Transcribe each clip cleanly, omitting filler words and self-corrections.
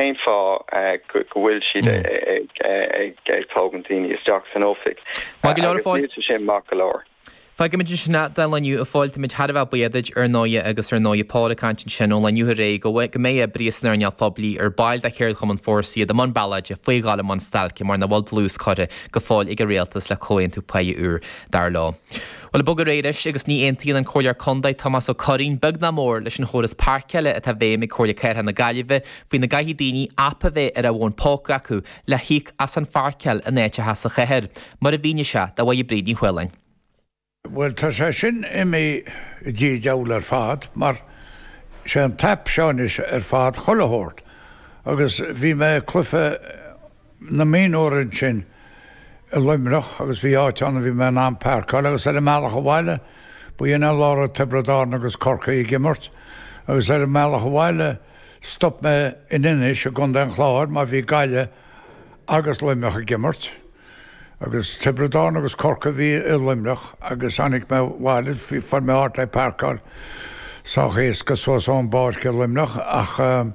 cén fáth go bhfuil siad ag tógaint daoine isteach san oifig. Maith go leor, a Phóil. Agus níl sé sin maith go leor. Fágfaimid ansin é don lá inniu, a Phóil. Táimid thar a bheith buíoch duit, ar ndóighe, agus ar ndóighe Pól ag caint ansin ón lá inniu aréir go go mbeidh oibrithe san earnáil phoiblí ar baill de Cheardchumann Fórsa iad i mbun ballóide faoi dhul i mbun stailce mar nach bhfuil dlús curtha go fóill ag an rialtas le comhaontú páighe úr, dar leo. Bhuel, ag bogadh ar aghaidh anois agus ní aontaíonn an Comhairleoir Contae Tomás Ó Curraoin beag ná mór leis an chóras páirceála atá i bhfeidhm ag Comhairle Cathrach na Gaillimhe faoina gcaithfidh daoine aip a bheith ar a bhfón póca acu le híoc as an pháirceáil in áiteacha sa chathair, mar a mhínigh sé do Mháire Bríd Ní Chualáin. Bhuel, tá sé sin imithe i dtigh an diabhail ar fad, mar sé an t-aip seo anois ar fad chuile shórt. Agus bhí mé ag cluiche na mionúr ansin i Luimneach agus bhí áit ann a bhí mé in ann páirceáil agus ar an mbealach abhaile, b'in an lá a raibh Tiobraid Árann agus Corcaigh ag imirt, agus ar an mbealach abhaile, Stop mé in Inis i gContae an Chláir mar bhí Gaillimh agus Luimneach ag imirt agus Tiobraid Árann agus Corcaigh a bhí i Luimneach agus tháinig mé abhaile, fuair mé áit le páirceáil sách éasca suas ón bpáirc i Luimneach ach an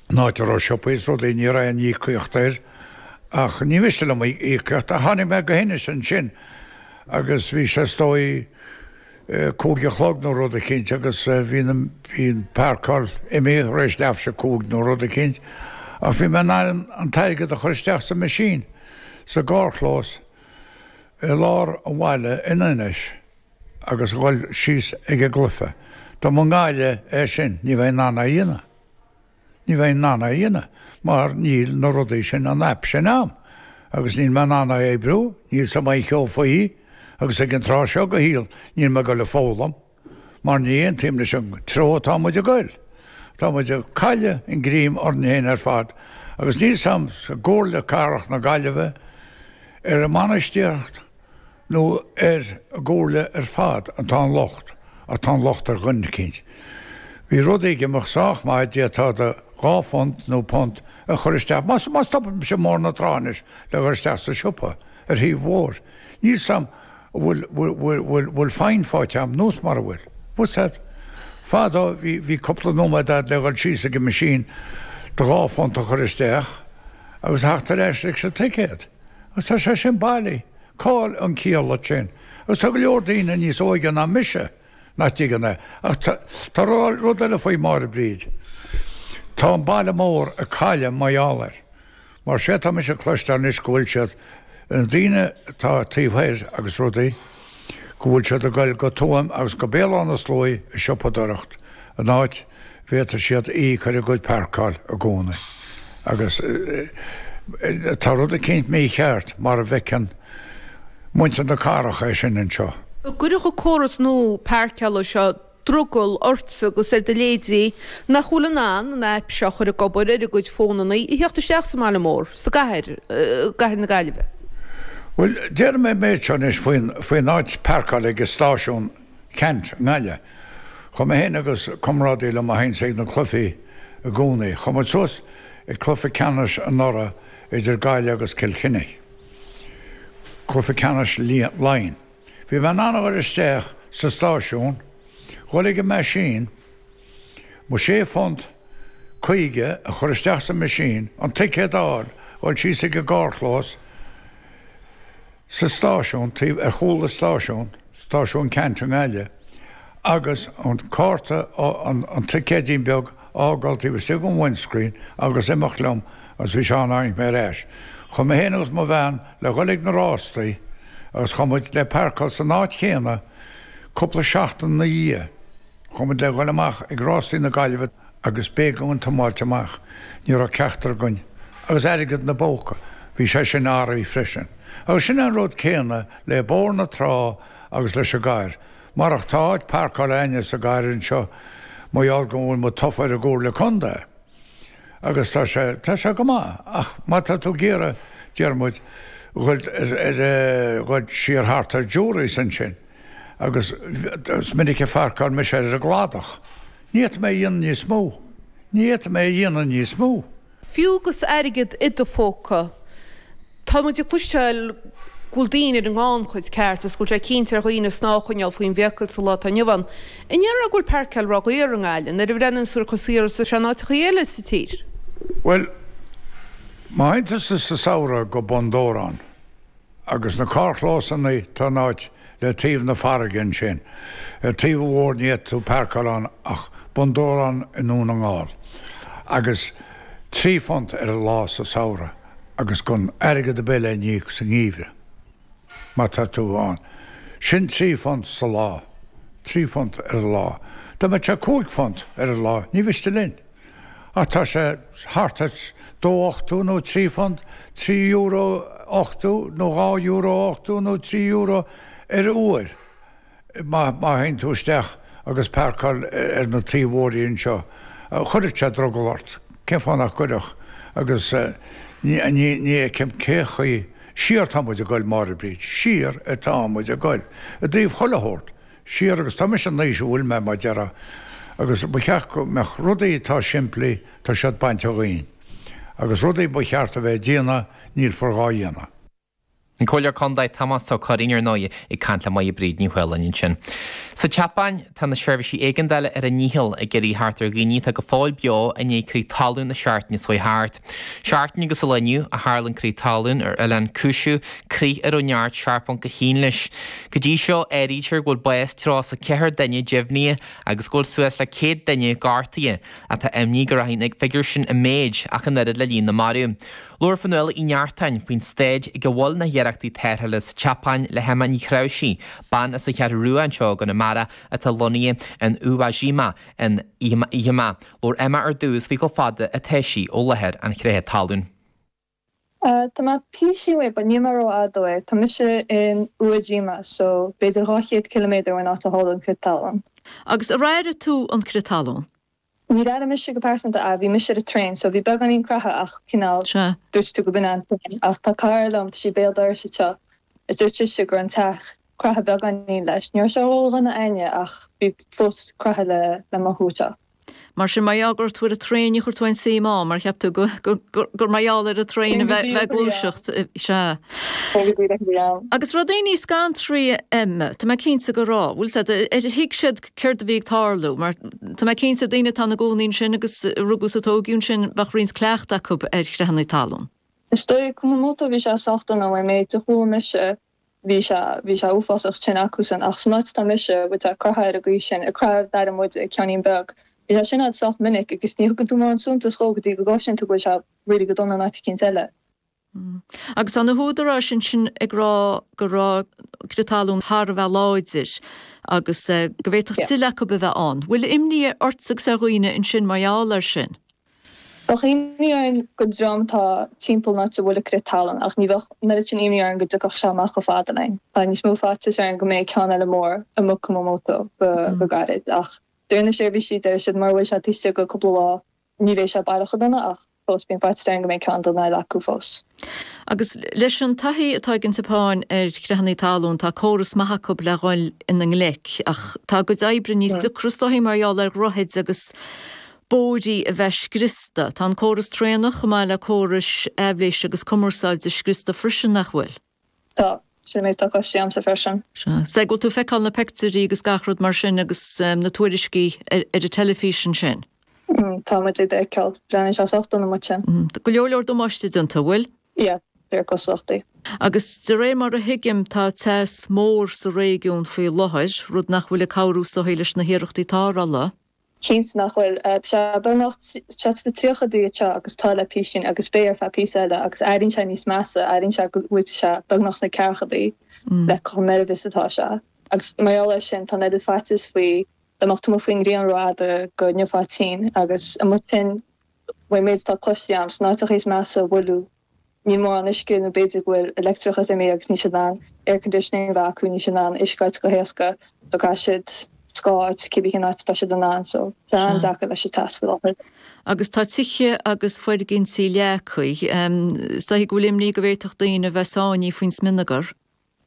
áit a raibh siopaí is rudaí ní raibh aon íocaíocht air ach ní mhiste liom íocaíocht ach tháinig mé go hInis ansin agus bhí sé is dóigh 5 a chlog nó rud eicínt agus bhí na, bhí an páirceáil imithe tar éis leath théis a 5 nó rud eicínt ach bhí mé in ann an t-airgead a chur isteach sa machine sa gcarrchlós i lár an bhaile in Inis agus a dhul síos ag an gcluiche. Dá mba i nGaillimh é sin ní bheinn in ann é a dhéanamh. Ní bheinn in ann é a dhéanamh mar níl na rudaí sin, an aip sin a'm agus níl mé in ann é a oibriú, níl 's a'm aon cheo faoi agus ag an tráth seo de shaol níl mé ag dul a foghlaim mar ní aontaím leis an treo atá muid ag goil. Tá muid ag cailleadh an greim orainn féin ar fad agus níl 's a'm sa gComhairle Cathrach na Gaillimhe ar an mbainistíocht nó ar an gcomhairle ar fad atá an locht, ach tá an locht ar dhuine eicínt. Bhí rudaí ag imeacht sách maith, d'fhéadfá do £2 nó punt a chur isteach, má má stopaimse i mBóthar na Trá anois le dhul isteach sa siopa ar thaobh an bhóthair, níl 's a'm an bhfuil bhfuil bhfuil bhfuil fine faighte a'm nós mara bhfuil. What's that? Fadó bhí bhí cúpla nóiméad a'd le dhul síos ag an machine do £2 a chur isteach agus a theacht ar ais leis an ticéad. Agus tá sé sin bailí. Cá'il an ciall leis sin? Agus tá go leor daoine níos óige ná mise nach dtuigeann é. Ach tá rud eile faoi Máire Bríd. Tá an baile mór ag cailleadh mar gheall air. Mar sé tá mise ag cloisteáil anois go bhfuil siad, na daoine atá taobh thoir agus rudaí, go bhfuil siad ag goil go Tuaim agus go Béal Átha na Sluaighe ag siopadóireacht, an áit bhféadfaidh siad íoc ar a gcuid páirceáil i gcónaí. Agus tá rud eicínt mícheart mar a bhfeiceann muintir na cathrach é sin anseo. An gcuirfeadh an córas nua páirceála seo drogall ortsa agus ar do leithéidí nach bhfuil in ann an aip seo a chur ag obair ar a gcuid fónanna a theacht isteach sa mbaile mór, sa gcathair, gCathair na Gaillimhe? Bhuel, déarfaidh mé an méid seo anois faoin, faoin áit páirceála ag an stáisiún Ceannt i nGaillimh. Chuaigh mé féin agus comrádaí liom a théanns ag na cluichí i gcónaí. Chuaigh muid suas ag cluiche ceannais anuraidh idir Gaillimh agus Cill Chainnigh. Cluiche ceannais Laighean. Bhí mé in ann a dhul isteach sa stáisiún, dhul ag an meaisín, mo sé phunt 50 a chur isteach sa meaisín, an ticéad a fháil, dhul síos ag an gcarrchlós sa stáisiún, taobh ar chúl an stáisiúin, Stáisiún Ceannt i nGaillimh, agus an cárta, an ticéidín beag a fhágáil taobh istigh den windscreen agus imeacht liom agus bhí sé ann tháinig mé ar ais. Chuaigh mé féin agus mo bhean le dhul ag na rástaí agus chuaigh muid le páirceáil san áit chéanna cúpla seachtain ina dhiaidh. Chuaigh muid le dhul amach ag rástaí na Gaillimhe agus b'éigean dúinn tiomáilt amach, ní raibh ceachtar againn agus airgead ina bpóca, bhí sé sin athraithe freisin. Agus sin é an rud céanna le Bóthar na Trá agus leis an gcathair. Marach tá áit páirceála a'inne sa gcathair anseo mar gheall go bhfuil muid tofa ar an gComhairle Contae agus tá sé, tá sé go maith ach má tá tú ag iarraidh, deir muid, dhul ar, ar, dhul siar thart ar Jurys ansin agus is minic a pháirceáil mise ar an gcladach. Ní fhéadfaidh mé a dhéanamh níos mó. Ní fhéadfaidh mé a dhéanamh níos mó. Fiú agus airgead i do phóca, tá muid ag cloisteáil go bhfuil daoine ar an ngannchuid ceart agus go bhfuil sé cinnte ar dhaoine snámh a choinneáil faoin bhfiacail sa lá atá inniu ann. An ndéarfá go bhfuil páirceáil ródhaor i nGaillimh nuair a bhreathnaíonn tú ar chomh saor is atá sé in áiteachaí eile sa tír? Bhuel, má théann tusa sa samhradh go Bun Dobhráin agus na carrchlósanna tá in áit le taobh na farraige ansin, ar taobh an bhóthair ní fhéadfaidh tú páirceáil ann ach Bun Dobhráin i nDún na nGall agus £3 ar an lá sa samhradh agus gan airgead ar bith le n-íoc sa ngeimhreadh má tá tú ann. Sin £3 sa lá. £3 ar an lá. Dá mbeadh sé £5 ar an lá ní mhiste linn. Ach tá sé thart ar 2.80 nó £3, €3.80 nó €2.80 nó €3 ar uair má théann tú isteach agus páirceáil ar na taobh-bhóithrí anseo. Chuirfeadh sé drogall ort. Cén fáth nach gcuirfeadh? Agus ní fheicim cé chaoi. Siar atá muid ag goil, Máire Bríd. Siar atá muid ag goil. I dtaobh chuile shórt. Siar agus tá mise in aois a bhfuil mé, mar déarfá, agus ba cheart go mbeadh rudaí atá simplí, tá siad bainte dhínn. Agus rudaí ba cheart a bheith ag déanamh, nílfear dhá dhéanamh. An Comhairleoir Contae Tomás Ó Curraoin, ar ndóigh, ag caint le Máire Bríd Ní Mhaoláin ansin. Sa tSeapáin, tá na seirbhísí éigeandála ar a ndícheall ag iarraidh theacht ar dhaoine atá go fóill beo i ndiaidh crith talún na seachtaine seo chuaigh thart. Seachtain agus an lá inniu a tharla an crith talún ar oileán Kyushu, crith a raibh neart 7.1 leis. Go dtí seo, áirítear go bhfuil bás 34 duine deimhnithe agus go bhfuil suas le 100 duine gortaithe, ach tá imní go rachaidh an figiúr sin i méid ach an oiread le líon na marbh. Labhair Fionnuala Uí Neachtain faoin staid ag a bhfuil na hiarrachtaí tarrthála sa tSeapáin le hEmma Ní Chreabhsaigh, bean as an Cheathrú Rua anseo i gConamara atá lonnaithe in Uwajima in Ehime. Labhair Emma ar dtús faoi chomh fada atá sí ó láthair an chreatha talún. Tá mé píosaín uaidh but níl mé rófhada uaidh. Tá mise in Uwajima so b'fhéidir 200 ciliméadar ón áit a tharla an crith talún. Agus ar airigh tú an crith talún? Níor airigh mise go pearsanta é, bhí mise ar an traein so bhí beagáinín creatha ach cineál Sea. dúirt tú go b'in an traein ach tá cara liom, tá sí béal dorais anseo is dúirt sise go raibh an teach craithe beagáinín leis. Ní raibh sé ródhona a'inne ach bhí fós craithe le le mothú anseo. Mar sin, mar gheall go raibh tú ar an traein, ní chuir tú aon suim ann, mar cheap tú gur mar gheall ar an traein a bheith ag gluaiseacht. Sea. Agus raibh daoine scanraithe, Emma, tá mé cinnte go raibh. Bhfuil 'fhios a'd, ar thuig siad céard a bhí ag tarlú? Mar tá mé cinnte, daoine atá ina gcónaí ansin agus a rugadh is a tógadh ansin, bheadh roinnt cleachta acu ar chreathanna talún. Is dóigh, Kumamoto, bhí sé sách dona, ón méid a chuala mise. Bhí sé, bhí sé uafásach tinn acusan ach san áit atá mise, bhfuil sé curtha ar an gcaoi sin, ag croitheadh d'aire muide ag ceainnín beag. Bhí sé sin a'd sách minic agus ní thugann tú mórán suntas dhó go dtí go gcloiseann tú go bhfuil sé really go dona in áit eicínt eile. Agus tá na húdaráis ansin ag rá go raibh crith talún thar a bheith láidir agus go bhféadfadh tuilleadh acu a bheith ann. Bhfuil imní ortsa agus ar dhaoine ansin mar gheall air sin? Bheadh imní orainn don dream atá timpeall an áit a bhfuil an crith talún ach ní bheadh an oiread sin imní orainn go dtiocfadh sé amach chomh fada linn. Tá níos mó faitíos orainn go mbeidh ceann eile mór amuigh Kumamoto go gairid ach deir na seirbhísí, deir siad mura bhfuil sé taobh istigh de cúpla lá ní bheidh sé baileach chomh dona ach fós bíonn faitíos orainn go mbeidh ceann dona eile acu fós. Agus leis an taithí atá ag an tSeapáin ar chreathanna talún, tá córas maith acu le dhul ina ngleic ach tá a gcuid oibre níos deacra is dóichí mar gheall ar dhroichid agus bóithrí a bheith scriosta. Tá an córas traenach chomh maith le córais aibhléise agus cumarsáide scriosta freisin, nach bhfuil? Tá. Sin an méid atá cloiste agamsa freisin. Sea. Is dóigh go bhfuil tú ag feiceáil na peictiúirí agus gach rud mar sin agus na tuairiscí ar an teilifís ansin. Tá muid ag feiceáil. Breathnaíonn sé sách dona amuigh ansin. Tá go leor leor damáiste déanta, an bhfuil? Yeah, de réir cosúlachtaí. Agus de réir mar a thuigim tá teas mór sa réigiún faoi láthair, rud nach bhfuil ag cabhrú is dóichí leis na hiarrachtaí tarrthála. Cinnte nach bhfuil. Tá sé beagnach tá sé sna tríochaidí anseo agus tá le písín agus beidh ar feadh píosa eile agus airíonn sé níos measa, airíonn sé go bhfuil sé beagnach sna ceathrachaidí le chomh meirbh is atá sé. Agus mar gheall air sin tá an oiread faitíos faoi dá mbeadh tú amuigh faoin ngrian rófhada go ngeofá tinn agus amuigh ansin ón méid atá cloiste agam sna áiteacha is measa a buaileadh Níl mórán uisce nó b'fhéidir go bhfuil leictreachas imithe agus níl siad in ann air conditioning a bheith acu, níl siad in ann uisce a fháilt go héasca so caithfidh siad scáth a fháilt cibé cén áit atá siad in ann so tá sé an-deacair leis an teas faoi láthair. Agus tá tithe agus foirgintí leagtha. Is dóichí go bhfuil imní go bhféadfadh daoine a bheith sáinnithe faoin smionagar.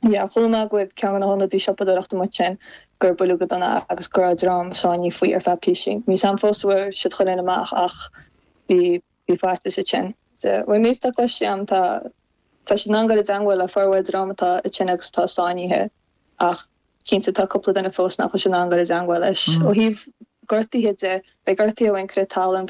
Yeah, chuala mé go bhfuil ceann de na hionadaí siopadóireachta amuigh ansin gur buaileadh go dona agus go raibh dream sáinnithe faoi ar feadh písín. Níl 's a'm fós an bhfuair siad chuile dhuine amach ach bhí Bhí faitíos ansin. Ón méid atá cloiste agam tá tá siad in ann dul i dteangmháil le formhór dream atá ansin agus atá sáinnithe ach cinnte tá cúpla duine fós nach bhfuil siad in ann dul i dteangmháil leis. Ó thaobh gortuithe de, beidh gortuithe ón crith talún, beidh.